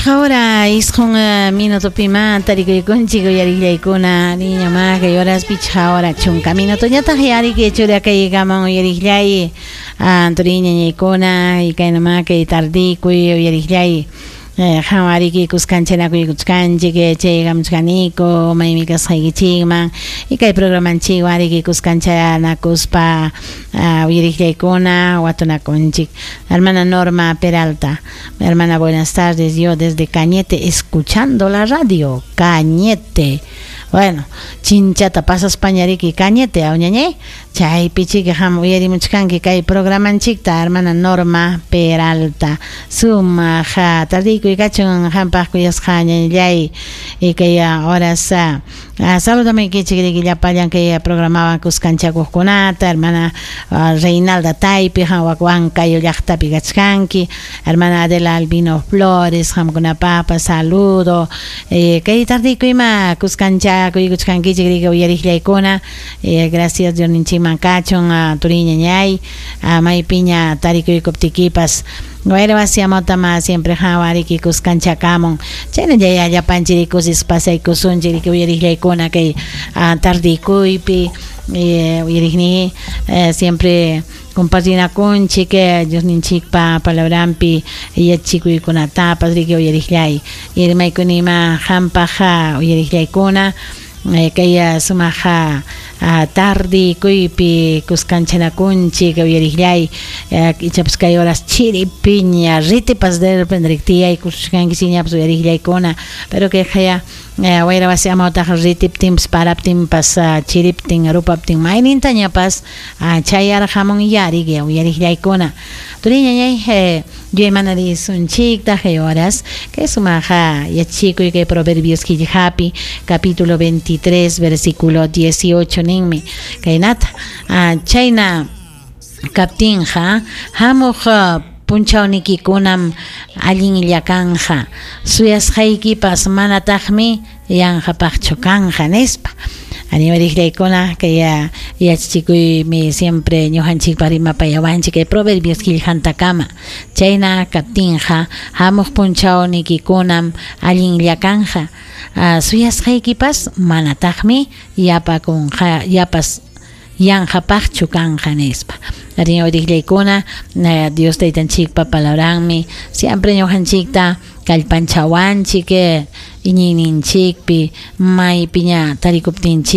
Pichqa hora isqun minutopima tarikuykunchik uyariqllaykuna niña ma kay horas pichqa hora chunka minutoñataq yariki churakaykaman uyariqllay turiñañaykuna y kaynama kay tardikuy uyariqllay qhawariki kuskanchakuykuchkanchik chaykamuchkaniku maymi kasqaykichikman y kay programanchikwan ariki kuskanchanakuspa uyariqllaykuna watunakunchik. Hermana Norma Peralta, hermana, buenas tardes, yo desde Cañete escuchando la radio. Cañete, bueno, chinchata pasaspañariki Cañete awñañay chaypi chiki ham uyarimuchkanki kay programanchikta, hermana Norma Peralta. Sumaq tardiykuy kachun hampaq kuyasqa ñañallay y kay horas saludamaykichik riki llapallan kay programawan kuskanchakuqkunata, hermana Reinalda Taypi ham wak Huancayo llaqtapi kachkanki, hermana Adela Albino Flores, hamkunapaqpas saludo. Kay tardikuyma kuskanchakuykuchkankichik riki uyariqllaykuna. Gracias Diosninchikman kachun turiñañay maypiña tarikuykuptikipas wayra wasiamotama siempre hawariki kuskanchakamun chayna yaya llapanchik kusis pasaykusunchik riki uyariqllaykuna kay tardikuypi uyariqni siempre compartinakunchik Diosninchikpa palabranpi yachikuykunatapas riki uyariqllay rimaykunima hampaq uyariqllaykuna kay sumaq tardikuypi kuskanchanakunchik uyariqllay ichapas kay horas chiripiña ritipas de repente tiyaykushkankichikñapas uyariqllaykuna pero kay qaya wayra wasi amawtaq ritiptinpas paraptinpas chiriptin rupaptin maynintañapas chayarqamun yariki uyariqllaykuna turiñañay yuyaymanarisunchiktaq kay horas kay sumaq yachikuy kay Proverbios qillqapi capítulo 23 versículo 18 ninmi kaynata chayna kaptinqa hamuq punchawnikikunam allinlla kanja suyasqaykipas manataqmi yanqapaqchu kanja nispa. Animariqllaykuna kay yachachikuymi siempre ñuqanchikpa rimapayawanchik kay Proverbios qillqantakama chayna kaptinqa hamuq punchawnikikunam allinlla kanja suyasqaykipas manataqmi yapakunqa yapas yanqapaqchu kanja nispa. Ariñawriqllaykuna Dios taytanchikpa palabranmi siempre ñuqanchikta kallpanchawanchik iñiyninchikpi maypiña tarikuptinchik.